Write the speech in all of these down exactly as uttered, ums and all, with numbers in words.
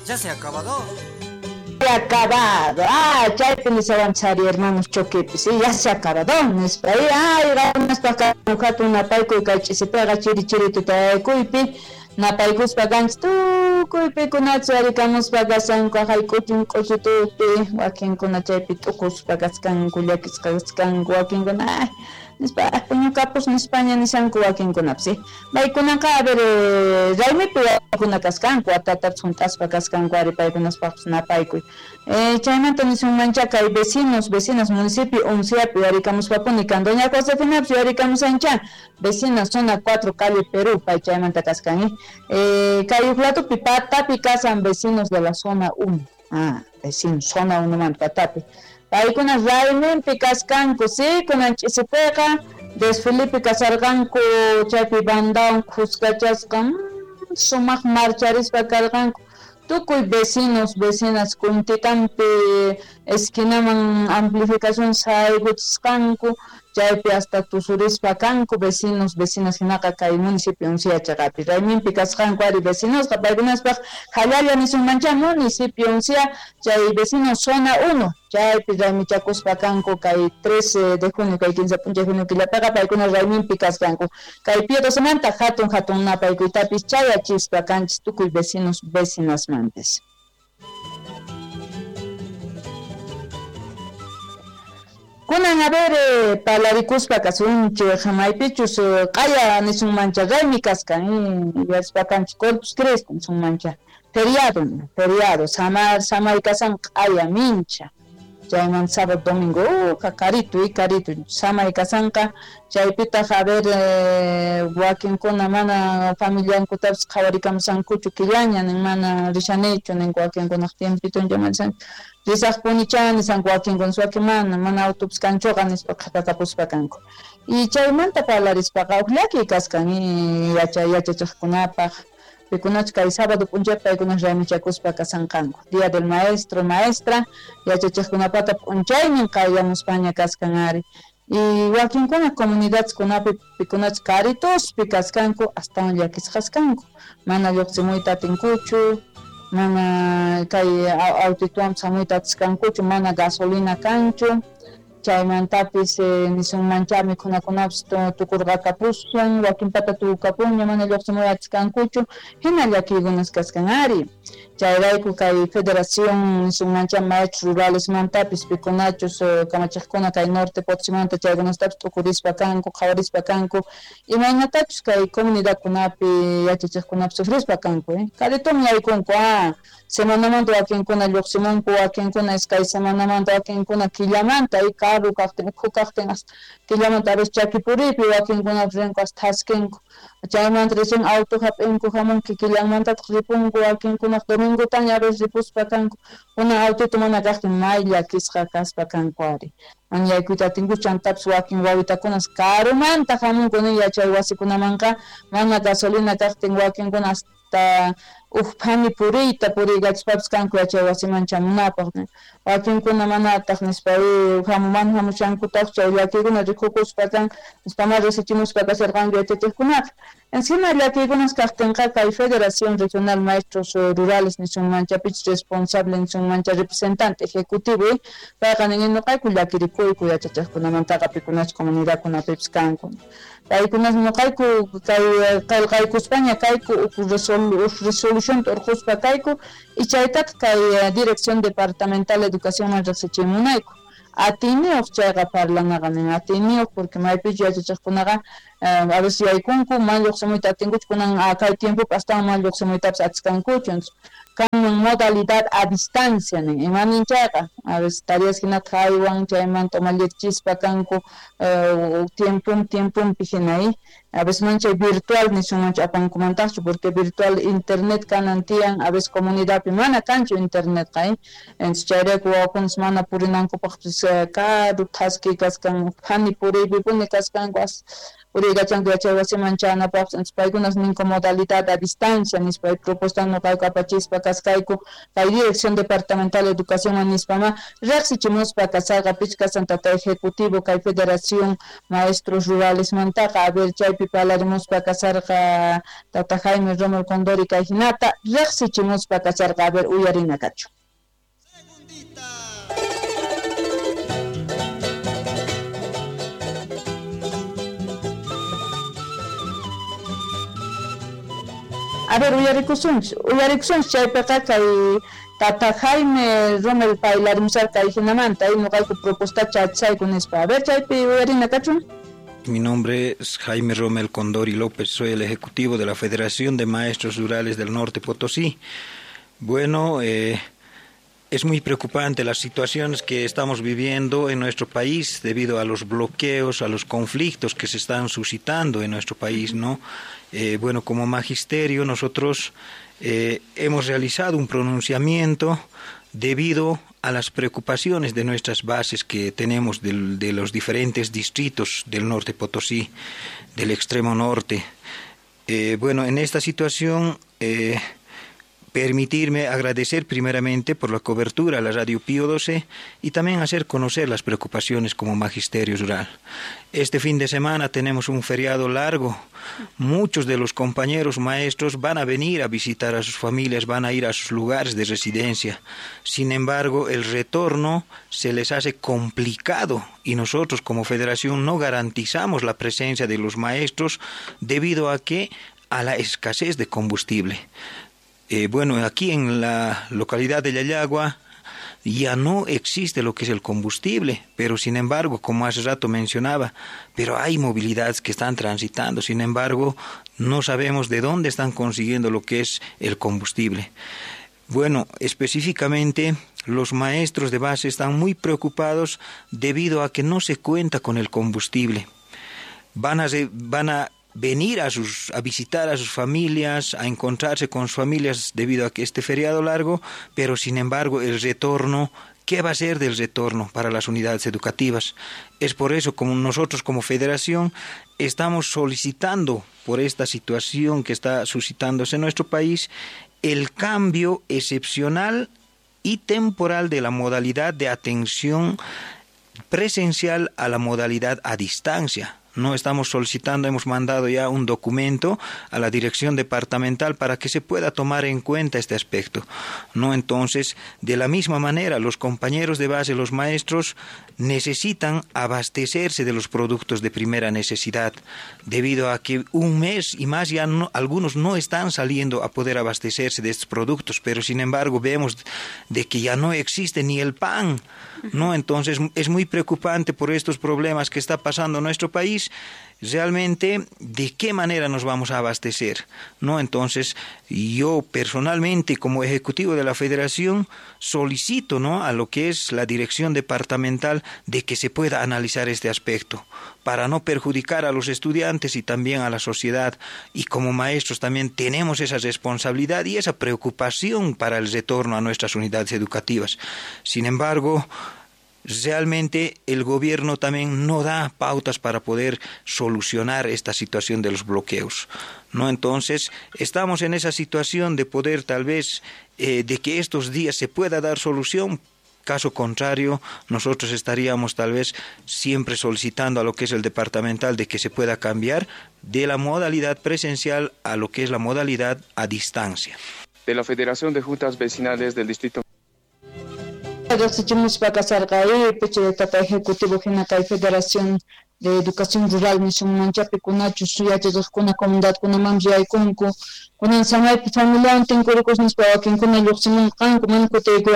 ¿Ya se ha acabado? Acabado. Ah, chaypi nisawanchari hermanos choquepi, sí, ya se acabado. Nispa, ay, ganaspa hatun napaykuy kay ch'isipiqa chiri chiri tutaykuypi napaykuspa kanchis tukuypikunachus arikamuspa kashanku hayk'uchin k'uchitupi wakinkuna chaypi t'ukuspa kaskanku llakisqa kaskanku wakinkuna ay nispa puñukapus nispaña nishanku wakinkunapis, sí. Paykunaqa a ver raymipi wakuna kaskanku watatapis hunt'aspa kaskanku ari paykunaspaqpis napaykuy. Eh, chaymanta nisunmancha kay vecinos, vecinas municipio Unciapi arikamuspapuni kan doña Josefinapis yarikamusancha vecinas zona cuatro calle Perú pay chaymanta kaskan, eh. Eh, kay uqlatupi patapi kasan vecinos de la zona uno. Ah, vecinos zona uno man patapi. Paykuna rayminpi kaskanku, sí, kunan ch'isipiqa desfilipi kasarqanku chaypi bandawan khuskachasqa mm, sumaq marcharispa karqanku tukuy vecinos, vecinas kuntikampi esquinaman amplificación saykuchisqanku chaypi hasta tusurispa kanku vecinos, vecinas hinaqa kay municipio Uncia chaqapi rayminpi kasqanku ari vecinosqa paykunaspaq hallalla nisunmancha municipio Uncia chay vecinos zona uno chaypi raymichakuspa kanku kay trece de junio kay quince p'unchay junio killapiqa paykuna rayminpi kasqanku kay Pío doce hatun hatun napaykuytapis chayachispa kanchis tukuy vecinos vecinasmanpis. Kunan a ver eh, palarikuspa kasunchik maypichus q'aya nisunmancha raymi kaskan yachaspa kanchik Corpus Christi nisunmancha feriado feriado samar samay kasan q'aya mincha chayman sábado domingo uh, karito y karito samay kasanqa chaypitaq a ver eh, wakinkuna mana familiankutapis qhawarikamusankuchu killaña nin mana rishanichu nin wakinkunaq tiempituncha mana risaqpunicha nisanku wakinkuna wakin mana mana autopis kanchuqa nispa qhapakapuspa kanku y chaymanta parlarispaqa huk llakiy kaskan yacha yachachiqkunapaq pikunach kay sábado p'unchay paykuna raymichakuspa kasanqanku día del maestro maestra yachachiqkunapata p'unchaynin qayllamuspaña kaskan ari y wakinkuna comunidadkunapi pikunach karituspi kaskanku astawan llakisqas kanku mana lluqsimuyta atinkuchu mana kay autituwan hamuyta atiskankuchu mana gasolina kanchu chaymantapis eh, nisunmancha mikhunakunapis tukurqakapuswan wakinpata tukukapunña mana lluqsimuy atiskankuchu hina llakiykunas kaskan ari chayrayku kay federación nisunmancha maestros ruralesmantapis pikunachus eh, kamachiqkuna kay norte Potosimanta chaykunastapis t'ukurispa kanku qhawarispa kanku imaynatachus kay comunidadkunapi yachachiqkunapi sufrispa kanku eh? Karitumi yaykunku ah semanamanta wakinkuna lluqsimunku wakinkuna iskay semanamanta wakinkuna killamanta y karu kaqtin ukhu kaqtin hasta killamanta a veces chakipuripi wakinkunapis rinku hasta thaskinku chaymanta recién auto hap'inku hamunki killanmantataq ripunku wakinkunaq domingotaña a veces ripuspa kanku kuna autito mana kaqtin may llakisqa kaspa kanku ari mana yaykuyta atinkuchu chantapis wakin wawitakunas karumanta hamunku nin yachay wasikunamanqa mana gasolina kaqtin wakinkuna hasta uj phani puriyta puriykachispapis kanku yachay wasiman chamunapaq wakinkuna manataq nispa hamuman hamushankutaq chay llakiykuna rikukuspa kan nispa ma risichimuspa kasharqanku yachachiqkunaqa encima llakiykunas kaqtinqa kay Federación Regional Maestros Rurales nisunmancha pichus responsable nisunmancha representante ejecutivo payqa nin ñuqayku llakirikuyku yachachiqkunamantaqa pikunachus comunidadkunapipis kanku paykunas ñuqayku kay qillqaykuspaña kayku uj resolución urquspa kayku y chaytataq kay Dirección Departamental de Educación riqsichimunayku atiyniyuq chayqa parlanaqa nin atiyniyuq porque maypichu yachachiqkunaqa a veces yaykunku mana lluqsimuyta atinkuchu kunan kay tiempopi astawan mana lluqsimuytapis atiskankuchu kanman modalidad a distancia nin imanin chayqa a veces tareas hinata haywan chaymanta umallirchispa kanku tiempon tiemponpi hina a veces man chay virtual nisunmanchu apankumantaqchu porque virtual internet kanan tiyan a veces comunidadpi mana kanchu internetqa eh entonces chayrayku wawakunas mana purinankupaqpis karu thaski kaskan phani puriypipuni kaskanku Puriykachanku yachay wasiman chanapaqpas paykunas ninku modalidad a distancia nispa propuesta nuqayku apachispa kaskayku kay Dirección Departamental de Educación nispama riqsichimuspa kasarqa pichqa tata ejecutivo kay Federación Maestros Rurales mantaqa a ver chaypi parlarimuspa kasarqa tata Jaime Rommel Condori kay hinata riqsichimuspa kasarqa a ver uyarina kachu. A ver, uyarikusunchis, uyarikusunchis chaypiqa kay tata Jaime Rommel paylarimusarqa kay hinamanta, nuqayku propuesta chachayku nispa. A ver, chaypi uyarina kachun. Mi nombre es Jaime Rommel Condori López, soy el ejecutivo de la Federación de Maestros Rurales del Norte Potosí. Bueno, eh, es muy preocupante las situaciones que estamos viviendo en nuestro país debido a los bloqueos, a los conflictos que se están suscitando en nuestro país, ¿no? Eh, bueno, como magisterio nosotros eh, hemos realizado un pronunciamiento debido a las preocupaciones de nuestras bases que tenemos del, de los diferentes distritos del norte Potosí, del extremo norte. Eh, bueno, en esta situación, eh, permitirme agradecer primeramente por la cobertura a la Radio Pío doce y también hacer conocer las preocupaciones como magisterio rural. Este fin de semana tenemos un feriado largo. Muchos de los compañeros maestros van a venir a visitar a sus familias, van a ir a sus lugares de residencia. Sin embargo, el retorno se les hace complicado y nosotros como federación no garantizamos la presencia de los maestros debido a que a la escasez de combustible. Eh, bueno, aquí en la localidad de Llallagua ya no existe lo que es el combustible, pero sin embargo, como hace rato mencionaba, pero hay movilidades que están transitando, sin embargo, no sabemos de dónde están consiguiendo lo que es el combustible. Bueno, específicamente los maestros de base están muy preocupados debido a que no se cuenta con el combustible. Van a, van a venir a sus a visitar a sus familias, a encontrarse con sus familias debido a que este feriado largo, pero sin embargo el retorno, ¿qué va a ser del retorno para las unidades educativas? Es por eso como nosotros como federación estamos solicitando por esta situación que está suscitándose en nuestro país el cambio excepcional y temporal de la modalidad de atención presencial a la modalidad a distancia. No estamos solicitando, hemos mandado ya un documento a la dirección departamental para que se pueda tomar en cuenta este aspecto. No, entonces, de la misma manera, los compañeros de base, los maestros, necesitan abastecerse de los productos de primera necesidad, debido a que un mes y más ya no, algunos no están saliendo a poder abastecerse de estos productos, pero sin embargo vemos de que ya no existe ni el pan, ¿no? Entonces es muy preocupante por estos problemas que está pasando en nuestro país. Realmente, ¿de qué manera nos vamos a abastecer? ¿No? Entonces, yo personalmente, como ejecutivo de la federación, solicito, ¿no?, a lo que es la dirección departamental de que se pueda analizar este aspecto para no perjudicar a los estudiantes y también a la sociedad. Y como maestros también tenemos esa responsabilidad y esa preocupación para el retorno a nuestras unidades educativas. Sin embargo, realmente el gobierno también no da pautas para poder solucionar esta situación de los bloqueos, ¿no? Entonces, estamos en esa situación de poder tal vez, eh, de que estos días se pueda dar solución. Caso contrario, nosotros estaríamos tal vez siempre solicitando a lo que es el departamental de que se pueda cambiar de la modalidad presencial a lo que es la modalidad a distancia. De la Federación de Juntas Vecinales del Distrito Tata Ejecutivo hina kay Federación de Educación Rural nisunmanchapi kunachus yachachaqkuna comunidadkunamanpis yaykunku kunan samaypi familiawan tinkurikus nispa wakinkuna lluqsimunqanku mana kutiykuy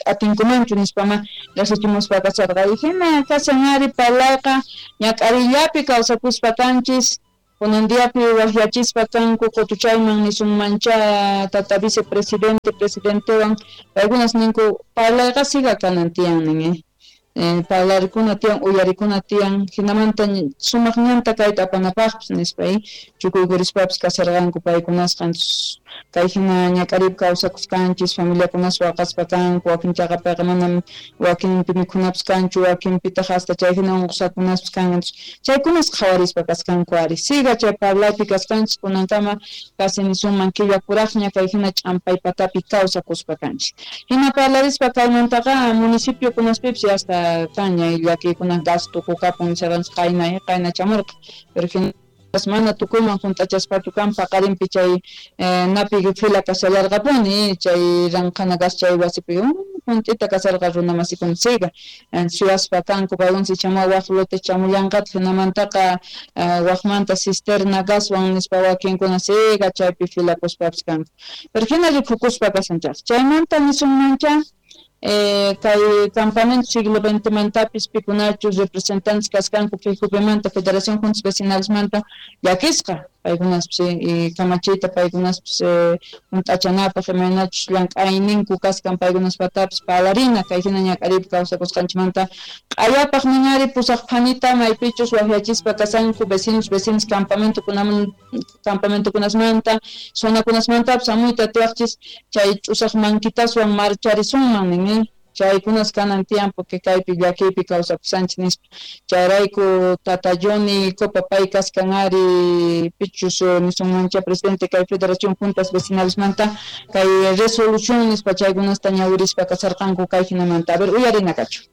atinkumanchu nispama riqsichimuspa kasarqa. Y hina kashan ari parlayqa ñak'arillapi kawsakuspa kanchis kunan diapi waqyachispa kanku qutuchayman nisunmancha tata vicepresidente presidentewan paykunas ninku parlayqa siga kanan tiyan nin eh parlarikuna tiyan uyarikuna tiyan hinamanta sumaq ñanta kayta apanapaqpis nispa chukuykurispapas kasarqanku paykunasqa Kay hina ñak'ariypi kawsakusqanchis familiakunas waqaspa kanku, wakin chaqapiqa manam wakinpi mikhunapas kanchu, wakinpitaq hasta chay hina unqusqakunaspas kan. Chaykunas qhawarispa kasqanku ari. Siga chay parlaypi kasqanchis kunankama casi nisunman killa kuraqña kay hina ch'ampay patapi kawsakuspa kanchis. Hina parlarispa kaymantaqa municipio kunaspipis hasta kanña llakiykuna gas tukukapun nisqanchis qayna qayna chamurqa. Pero hina mana tukuyman hunt'achaspachu kan paqarinpi chay napi fila kashallarqapuni chay ranqhana gas chay wasipi hunt'ita kasarqa runa masikuna siga suyaspa kanku paykuna chamuwa waq lote chamullanqataq hinamantaqa waqmanta cisterna gaswan nispa wakinkuna siga chaypi filakuspapis kanku. Pero hina rikukuspa kasanchaq chaymanta nisunmancha Eh, kay campamento siglo veinte mantapis pikunachus representantes kasqanku F J V manta Federación Juntas Vecinales manta llakisqa paykunaspis y kamachiyta paykunaspis hunt'achanapaq imaynachus llank'ayninku kasqan paykunaspatapis parlarina kay hina ñak'ariypi kawsakusqanchikmanta q'ayapaq niñari pusaq phanita maypichus waqyachispa kasanku vecinos vecinos campamentokunaman campamentokunasmanta zonakunasmantapis hamuyta atiwaqchis chay ch'usaq mankitaswan marcharisunman nin chaykunas kanan tiyan porque kaypi llakiypi kawsakusanchik nispa. Chayrayku tata Johnny Copa pay kasqan ari pichus nisunmancha presidente kay Federación Juntas Vecinales manta kay resolución nispa chaykunasta ñawirispa kasarqanku kay hinamanta. A ver, uyarina kachu.